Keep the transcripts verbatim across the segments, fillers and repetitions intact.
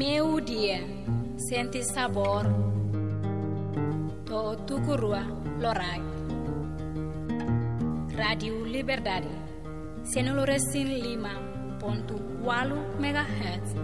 Meiudia, sente sabór, to'o tuku rua loraik. Rádiu Liberdade, sanulu-resin-lima pontu ualu megahertz.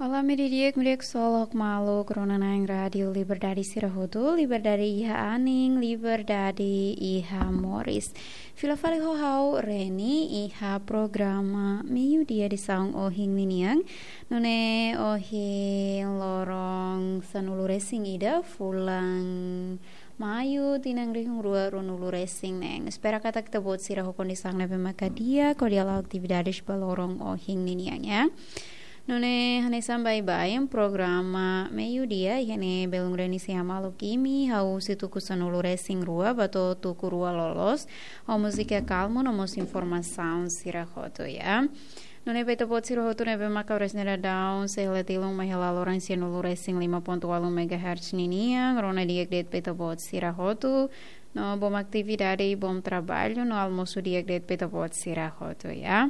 Olá, meiudia, meiudia ksolok maluk rona-na'in Rádiu Liberdade sira hotu, liberdade iha anin, liberdade iha moris. Fila fali ho ha'u Reni iha programa Meiudia edisaun ohin ninian. Nune'e ohin loron sanulu-resin-ida fulan Maiu, tinan rihun rua ruanulu-resin-neen. Espera katak ita-boot sira ho kondisaun ne'ebé maka di'ak hodi hala'o atividades ba loron ohin ninian, ya. Nune'e hanesan baibain programa Meiudia, iha ne'e belun Reni sei hamaluk imi, hahú husi tuku sanulu-resin-rua ba to'o tuku rua loloos, ho múzika kalmu no mós informasaun sira hotu, ya. Nune'e ba ita-boot sira hotu ne'ebé maka oras ne'e daudaun sei hela tilun mai hela loron sanulu-resin-lima pontu ualu megahertz ninian, rona di'ak de'it ba ita-boot sira hotu, no bom atividade, bom trabalho, no almosu di'ak de'it ba ita-boot sira hotu, ya.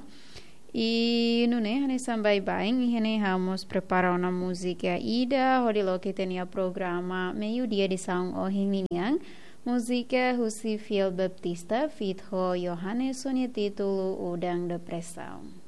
I nune'e hanesan baibain, iha ne'e ha'u mós prepara ona múzika ida hodi loke ita-nia programa Meiudia edisaun ohin ninian, múzika husi Fiel Baptista, feat ho Johannes ho nia títulu Udan Depresaun.